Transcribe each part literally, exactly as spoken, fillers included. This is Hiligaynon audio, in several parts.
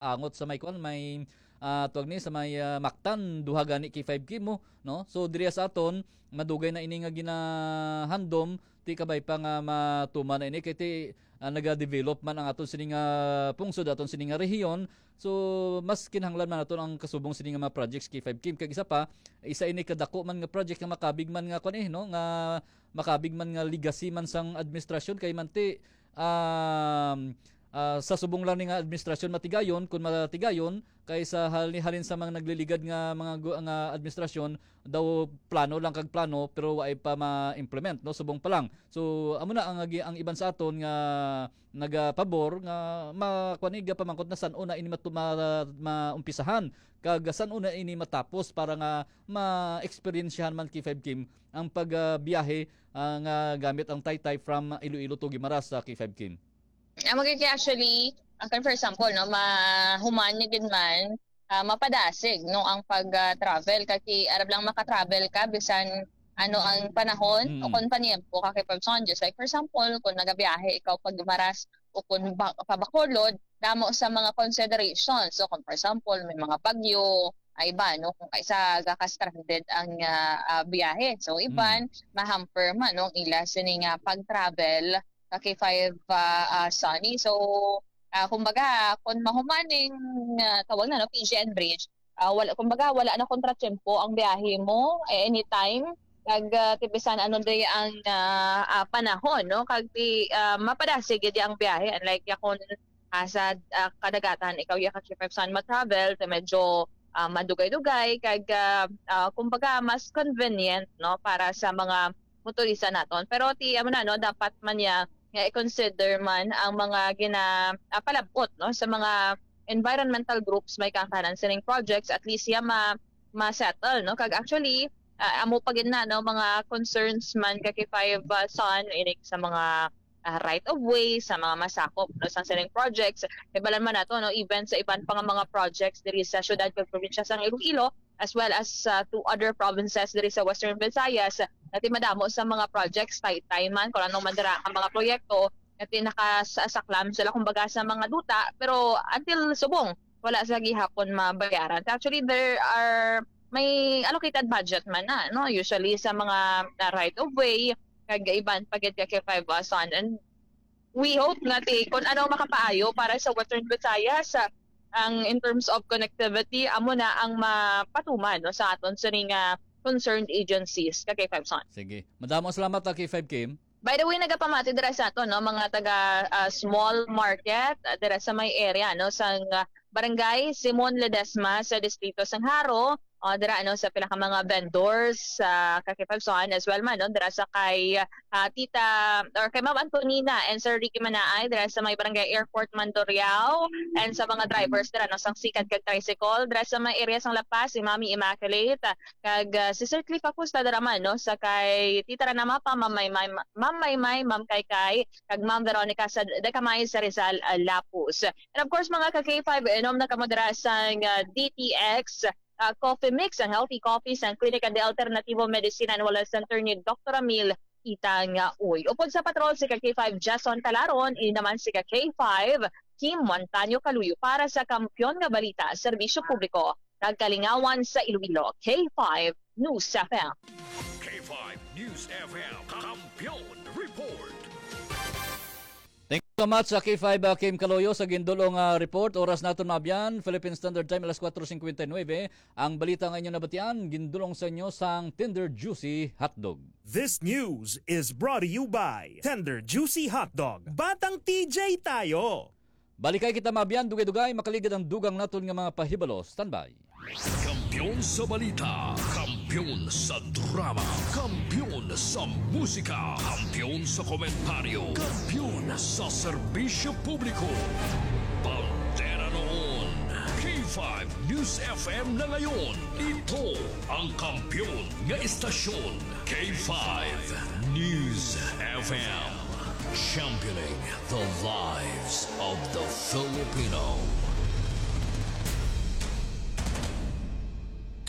angot sa may kwan, may, ah, tawag ni, sa may, ah, Mactan, duha gani K five Kim mo, no? So, diri sa aton, madugay na ini nga ginahandom, ti kabay pa nga matuman na ini, kay ti, ah, nagadevelop man ang aton sini nga pungsod, aton sini nga rehiyon. So, mas kinahanglan man naton ang kasubong sini nga mga projects, K five Kim. Kag isa pa, isa ini kadako man nga project nga makabig man nga kwan eh, no? Nga makabig man nga legacy man sang administrasyon, kay man ti, um, ah, sa subong lang ni nga administrasyon matigayon, kun matigayon, kay sa hali-, halin sa mga nagliligad nga mga gu-, nga administrasyon, daw plano lang kag plano, pero waay pa ma-implement, no? Subong pa lang. So, amo na ang agi-, ang iban sa aton nga nagapabor nga ma-, kuan ni, gapamangkot na san-o na ini matu-, ma-, maumpisahan, kag san-o na ini matapos para nga ma-eksperyensyahan man, K five Kim, ang pagbiyahe, ah, nga gamit ang taytay from Iloilo to Guimaras sa K five Kim. Ang magiging actually, ang kan, for example, no, mahuman ni gid man, ah, mapadasig, no, ang pag, ah, travel. Kay arab lang maka-travel ka, bisan ano ang panahon o Mm. kon paniempo ka kay Pabson. Just like, for example, kung nagabiyahe ikaw pag Maras o kung ba, pa Bacolod, damo sa mga consideration. So, kung for example, may mga bagyo, ay ba, no, kung kaisa gaka-stranded ang, ah, ah, biyahe. So, iban, Mm. mahamper man, no, ila sini nga pag-travel ka K five, ah, ah, Sunny. So, ah, kumbaga, kung mahumaning, ah, tawag na, no, P G N Bridge, ah, wala, kumbaga, wala na kontratiempo ang biyahe mo, eh, anytime. Kag, ah, ti bisan ano day ang, ah, ah, panahon, no? Kag ti, ah, mapadasig gid ang biyahe. Unlike ya kung, ah, sa, ah, kadagatan, ikaw ya ka K five Sun ma-travel, ti medyo, ah, madugay-dugay, kag, ah, ah, kumbaga, mas convenient, no, para sa mga motorista naton. Pero ti, amo na, no, dapat man niya nga i-consider man ang mga gina-, ah, palabot, no, sa mga environmental groups may kakanan sining projects, at least siya ma-, ma-settle, no? Kag actually, ah, amo pa gid na, no, mga concerns man ka K five, ah, Sun, inig sa mga, ah, right of way, sa mga masakop, no, sa sining projects. Kay balan man nato, no, even sa iban pa nga mga projects diri sa syudad kag probinsya sang Iloilo, as well as, ah, to other provinces diri sa Western Visayas, nga ti madamo sa mga projects, taytay man, kung ano man dira ang mga proyekto, nga ti nakasaklam sila, kumbaga, sa mga duta, pero until subong, wala sa gihapon mabayaran. Actually, there are, may allocated budget man na, no? Usually, sa mga, ah, right of way, kag iban pa gid ka K five Sun. And we hope nga ti, kung ano makapaayo para sa Western Visayas, ah, ang in terms of connectivity, amo na ang mapatuman, no, sa aton sini nga concerned agencies, ka K five Sun. Sige. Madamo salamat, ah, K five Kim. By the way, nagapamati dira sa aton, no, mga taga, ah, small market, ah, dira sa may area, no, sa, ah, Barangay Simon Ledesma sa Distrito sang Jaro, ah, dira, ano, sa pila ka mga vendors sa Kakipagsuan as well man, no, dira sa kay, ah, Tita, or kay Ma'am Antonina and Sir Ricky Manaay, dira sa may Barangay Airport Mandurriao, and sa mga drivers dira, no, sang sikad kag tricycle, dira sa may area sang La Paz, si Mami Immaculate, kag, ah, si Sir Cliff Acosta dira man, no, sa kay Tita Rana Mapa, Ma'am Maymay, Ma'am Maymay, Ma'am Kaykay, kag Ma'am Veronica sa Dacamay sa Rizal, ah, Lapus. And of course, mga ka K five, inom na kamo dira sang, ah, D T X, ah, Coffee Mix, ang healthy coffee sang Klinika de Alternativo Medicina and Wellness Center ni Doktor Ramil Itang, ah, Uy. Upod sa patrol, si ka K five Jason Calaron, ini naman si ka K five Kim Montaño Kaluyo para sa Kampiyon nga Balita, Serbisyo Publiko, Nagkalingawan sa Iloilo, K five News F M. K five News F M, Kampiyon Report. Thank you so much sa K five, uh, Kim Kaloyo sa gindulong, uh, report. Oras naton, Mabyan, Philippine Standard Time, alas kuwatro singkwenta y nuebe. Ang balita nga inyo nabatian, gindulong sa inyo sang Tender Juicy Hotdog. This news is brought to you by Tender Juicy Hotdog. Batang T J tayo! Balikay kita, Mabyan, dugay-dugay, makaligid ang dugang naton nga mga pahibalo. Standby. Kampiyon sa balita, kampiyon sa drama, kampiyon sa musika, kampiyon sa komentaryo, kampiyon sa serbisyo publiko. Bandera noon, K five News F M na ngayon. Ito ang kampiyon nga istasyon, K five News F M. Championing the lives of the Filipino.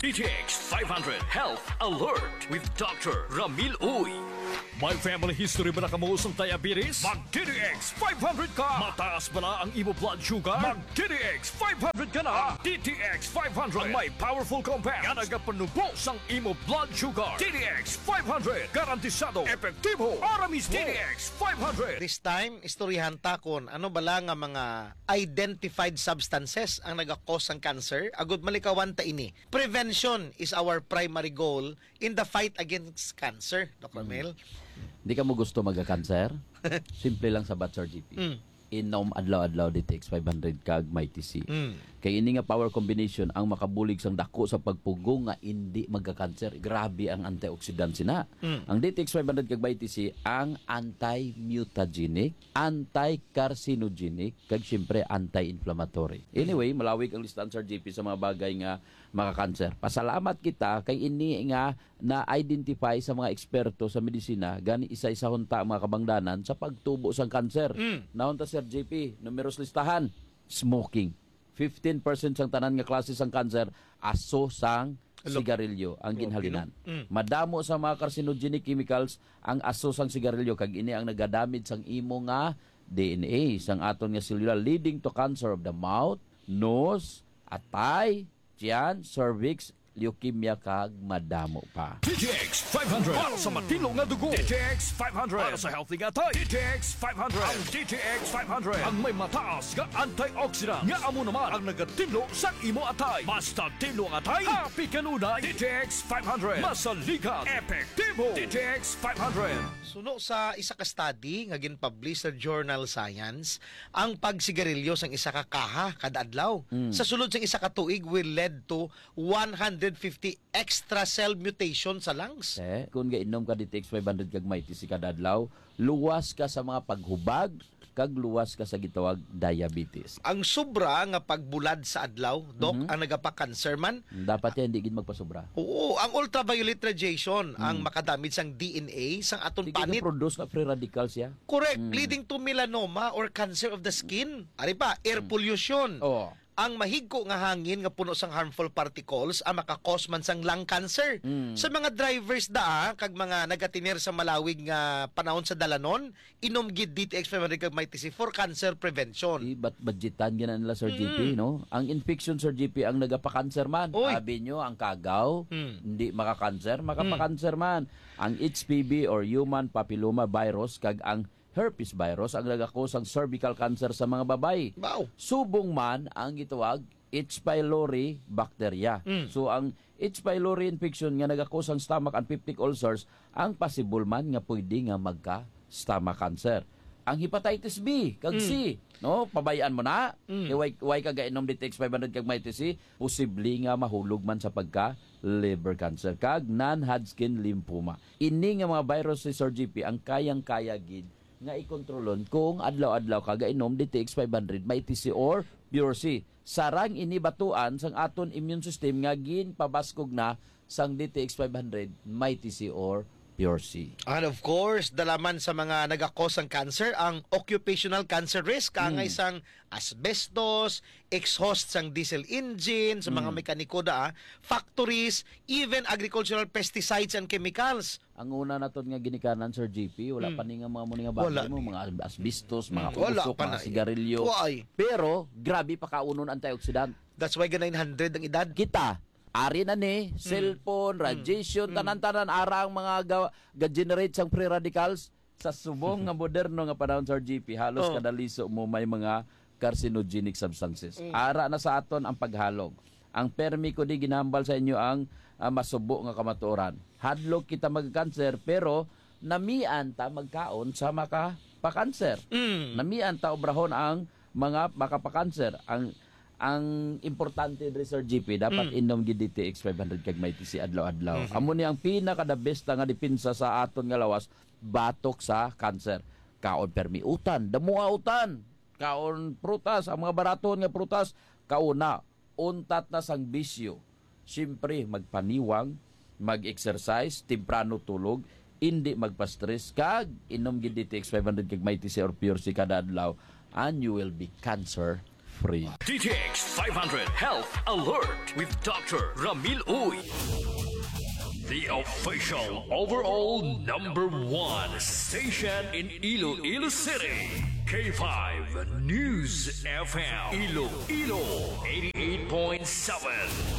D T X five hundred Health Alert with Doctor Ramil Uy. May family history ba na kamo sang diabetes? Mag D T X five hundred ka! Mataas ba na ang imo blood sugar? Mag D T X five hundred ka na! Ang D T X five hundred ang may powerful compound nga nagapanubo sang imo blood sugar. D T X five hundred, garantisado, epektibo, para mismo. D T X five hundred. This time, istoryahan ta kon ano bala nga mga identified substances ang nagakos sang cancer. Agud malikawan ta ini. Prevention is our primary goal in the fight against cancer, Doc Romel. Di ka mo gusto magka-cancer? Simple lang sabat, Sir G P. Mm. Inom adlaw-adlaw D T X five hundred kag Mighty C. Mm. Kay ini nga power combination ang makabulig sang dako sa pagpugong nga indi magka-cancer. Grabe ang antioxidant sina. Mm. Ang D T X five hundred kag Mighty C ang anti-mutagenic, anti-carcinogenic, kag siyempre anti-inflammatory. Anyway, malawig ang listahan, Sir G P, sa mga bagay nga maka-cancer. Pasalamat kita kay ini nga na-identify sa mga eksperto sa medisina, gani isa-isahon ta ang mga kabangdanan sa pagtubo sang cancer. Mm. Nahon ta, Sir G P, numeros listahan, smoking. Fifteen percent sang tanan nga klase sang cancer aso sang Hello. Sigarilyo ang Grabe, ginhalinan. No? Mm. Madamo sa mga carcinogenic chemicals ang aso sang sigarilyo, kag ini ang nagadamage sang imo nga D N A, sang aton nga selula, leading to cancer of the mouth, nose, atay, tiyan, cervix, leukemia, kag madamo pa. D T X five hundred para sa matino nga dugo. D T X five hundred para sa healthy nga atay. D T X five hundred. Ang D T X five hundred ang may mataas nga antioxidant nga amo naman ang nagatinlo sa imo atay. Basta tinlo ang atay, happy kanunay. D T X five hundred. Masaligan. Epektibo. D T X five hundred. Suno sa isa ka study nga ginpublish sa journal Science, ang pagsigarilyo sang isa ka kaha kada adlaw Mm. sa sulod sang isa ka tuig will lead to one hundred fifty extra cell mutation sa lungs. Eh, kung gainom ka D T X five hundred kag Mighty C kada adlaw, luwas ka sa mga paghubag, kag luwas ka sa gitawag diabetes. Ang sobra nga pagbulad sa adlaw, Doc, Mhm. ang nagapa-cancer man. Dapat yan, di gid magpasobra. Oo, ang ultraviolet radiation ang Mm. makadamage sang D N A, sang aton Di panit. Gid produce nga free radicals ya. Correct, Mm. leading to melanoma or cancer of the skin. Ari pa, air Mm. pollution. Oo. Ang mahigko nga hangin nga puno sang harmful particles ang makakos man sang lung cancer. Mm. Sa mga drivers da, ah, kag mga nagatener sa malawig nga panahon sa dalanon, inom gid D T X five hundred kag Mighty C for cancer prevention. Di, bat-, budgetan gina nila, Sir Mm. G P, no? Ang infection, Sir G P, ang nagapa-cancer man. Oy. Abi nyo, ang kagaw, Mm. hindi maka-cancer, Mm. makapa-cancer man. Ang H P V or human papilloma virus kag ang herpes virus ang nagakos sang cervical cancer sa mga babay. Wow. Subong man ang gitawag H. pylori bacteria. Mm. So, ang H. pylori infection nga nagakos sang stomach and peptic ulcers ang possible man nga pwede nga magka-stomach cancer. Ang hepatitis B kag Mm. C, no? Pabayaan mo na. Mm. Kay why, why ka gainom D T X five hundred kag Mighty C? Posible nga mahulog man sa pagka liver cancer kag non-Hodgkin lymphoma. Ini nga mga virus, si Sir G P, ang kayang-kaya gid nga ikontrolon kung adlaw-adlaw ka gainom D T X five hundred, Mighty C or Pure C. Sarang ini batuan sang aton immune system nga ginpabaskog na sang D T X five hundred, Mighty C or Pure C. And of course, dalaman sa mga nagakos sang cancer ang occupational cancer risk, angay Mm. sang asbestos, exhaust sang diesel engine, sa mga Mm. mekaniko da, ah, factories, even agricultural pesticides and chemicals. Ang una naton nga ginikanan, Sir G P, wala Mm. pa ni nga mga muni nga bagay Wala mo, ni. mga asbestos, mga Mm, wala usok, pa mga na. sigarilyo. Why? Pero, grabe pa kaunon antioxidant. That's why ga nine hundred ang edad. Kita, ari na ni, Mm. cellphone, Mm. radiation, Mm. tanan-tanan, ara ang mga ga-, ga-generate sang free radicals. Sa subong nga moderno nga panahon, Sir G P, halos Oh. kada liso mo may mga carcinogenic substances. Mm. Ara na sa aton ang paghalog. Ang permi ko di ginahambal sa inyo ang, ah, masubo nga kamatuoran. Hadlok kita magkanser, pero namian ta magkaon sa makapakanser. Mm. Namian ta obrahon ang mga makapakanser. Ang, ang importante diri, Sir G P, dapat Mm. inom gid D T X five hundred kag Mighty C adlaw-adlaw. Mhm. Amo ni ang pinaka the best nga depensa sa aton nga lawas batok sa kanser. Kaon permi utan, damoa utan. Kaon prutas, ang mga baraton nga prutas, kauna, untat na sang bisyo. Siyempre, magpaniwang, mag-exercise, temprano tulog, indi magpa-stress, kag inom gid D T X five hundred kag Mighty C or Pure C kada adlaw, and you will be cancer free. D T X five hundred Health Alert with Doctor Ramil Uy. The official overall number one station in Iloilo City, K five News F M, Iloilo eighty-eight point seven.